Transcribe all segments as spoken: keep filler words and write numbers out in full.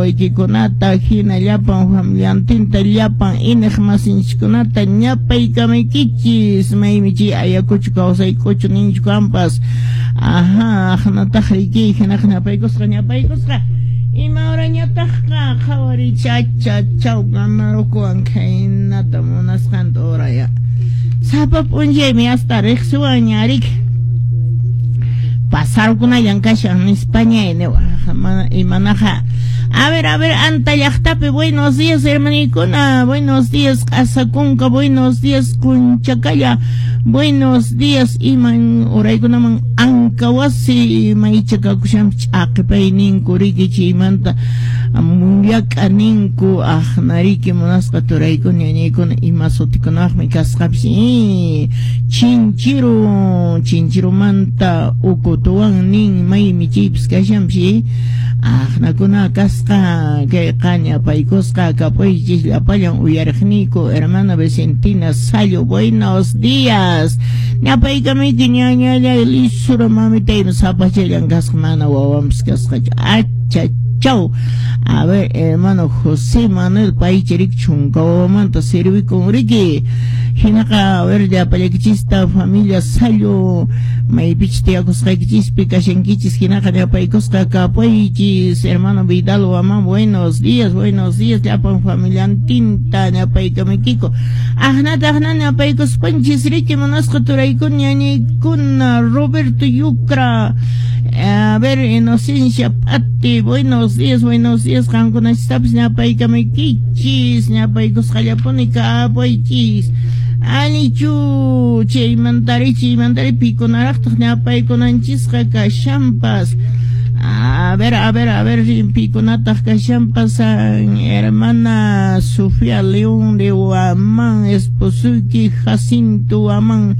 wawaykikunata, hina llapan familiantinta, llapan iñiqmasinchikkunata ñapaykamaykichis, maymi chay Ayacucho kawsaykuchu ninchu kampas. Ajá, aqnataq riki, hinaqa ñapaykusqa, ñapaykusqa. Ima horañataqqa qhawariy chacha chaw ganarukuwan khaynata munasqanta horaya. Sapa p'unchaymi hasta riqsiwanña riki. Pasarkunallan kashan nispañay niwaq mana imanaqa. A ver, a ver, Anta llaqtapi, buenos días, hermanikuna, buenos días, Q'asakunka, buenos días, Kunchakalla, buenos días, iman uraykunaman Ankawasi maycha kakushanpi ch'aqipay riki chaymanta mullak'a ninku aqnariki munasqa turaykuna ñañaykuna ima sutikunaqmi kasqapis Chinchiru, Chinchirumanta ukutuwan nin maymi chaypis kashanpis aqnakuna kasqa kay qaña paykusqa kapuychis llapallan uyariqniyku. Hermana Vicentina Sallo, buenos días, ñapaykamiyki ñañallay lisura mamitaymi sapachallan kasqa mana wawanpis kasqachu acha chau. A ver, hermano José Manuel paycharik chunka wawamanta sirvikun riki. Hinaqa, a ver, llapallaykichista familia Sallo maypichus tiyakusqaykichispi kashankichis hinaqa ñapaykusqa kapuychis. Hermano Vidal Waman, buenos días, buenos días, llapan familiantinta ñapaykamiykiku. Aqnata aqna ñapaykuspanchis riki munasqa turaykuna ñañaykuna Roberto Yucra. A ver, Inocencia Patti, buenos días, buenos días, qankunachistapas ñapaykamaykichis, ñapaykusqallapuni kapuychis. Alichu, chaymantari, chaymantari pikunaraqtaq ñapaykunanchisqa kashanpas. A ver, a ver, a ver, pikunataq kashanpas, hermana Sofía León de Huamán, esposuyki Jacinto Huamán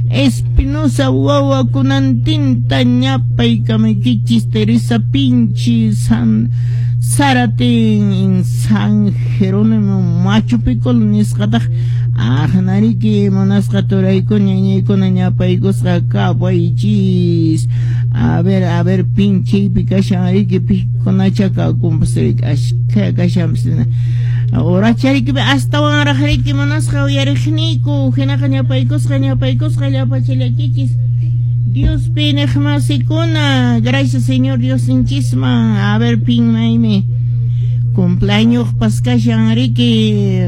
Espinosa wawakunantinta ñapaykamaykichis. Teresa Pinchi San Zaratin San Jerónimo Machu Picol nisqataq aqnariki munasqa turaykuna ñañaykuna ñapaykusqa kapaychis. A ver, a ver, pinchaypi kashan riki pikunacha kakunpas riki ashkha kashanpas horachariki astawanraq riki munasqa uyariqniyku hinaqa ñapaykusqa ñapaykusqa llapachallakichis Diospi iñiqmasikuna, gracias Señor Diosninchisman. A ver, pin maymi cumpleaños kashan riki.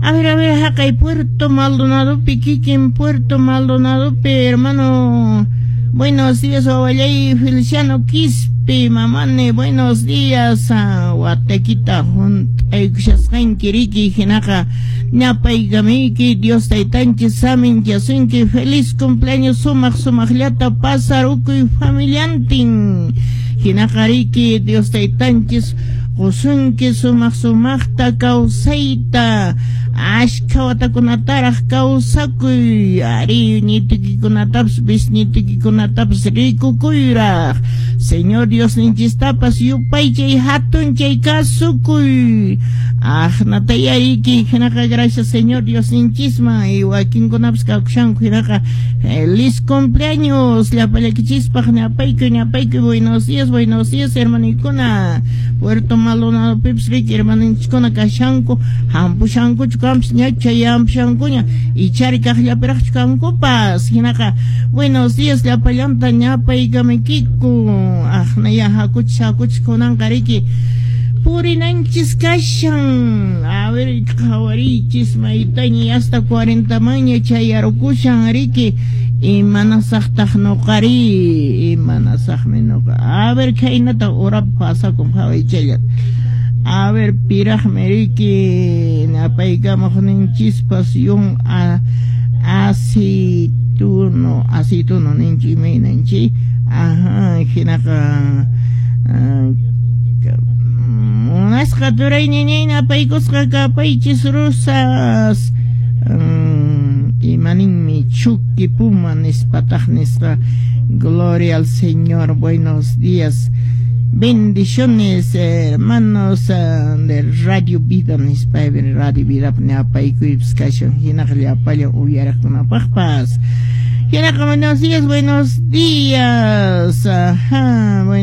A ver, a ver, haqay Puerto Maldonado kikin Puerto Maldonado, hermano. Buenos días, wawallay Feliciano Quispe, mamane, buenos días. Watakita hunt'aykushasqanki riki hinaqa ñapaykamiyki Dios taytanchis saminchasunki, feliz cumpleaños, sumaq sumaqllata pasarukuy familiantin hinaqa riki Dios taytanchis qusunki sumaq sumaqta kawsayta ashkha watakunataraq kawsakuy ari ñitikikunatapas bisñitikikunatapas rikukuyraq Señor Diosninchistapas yupaychay hatunchay kasukuy aqnatayariki hinaqa gracias Señor Diosninchisman y wakinkunapas kakushanku hinaqa feliz cumpleaños llapallakichispak ñapaykuy ñapaykuy. Buenos días, buenos días, hermanikuna Puerto Maldonado pipas riki hermanunchiskuna kashanku hampushankuchu kampas ñacha yampushankuña ichari kaqllapiraqchu kankupas hinaqa buenos días llapallanta ñapaykamaykiku aqnaya hakuchis hakuchis kunanqa riki purinanchis kashan. A ver, qhawariychis maytaña hasta cuarenta maña chayarukushan riki imanasaqtaq nuqari imanasaqmi nuqa. A ver, khaynata hora pasakun qhawaychallata. A ver, piraqmi riki napaykamuqninchispas yun a aceituno aceituno ninchi imaynanchi ajá hinaqa munasqa turay ñañay napaykusqa kapaychis Rosas imaninmi Chucky Puma nispataq nisqa. Gloria al Señor, buenos días, bendiciones, hermanos de Radio Vida nispa Radio Vida napaykuypas kashan hinaqa llapallan uyariqkunapaqpas hinaqa buenos días, buenos días, ajá.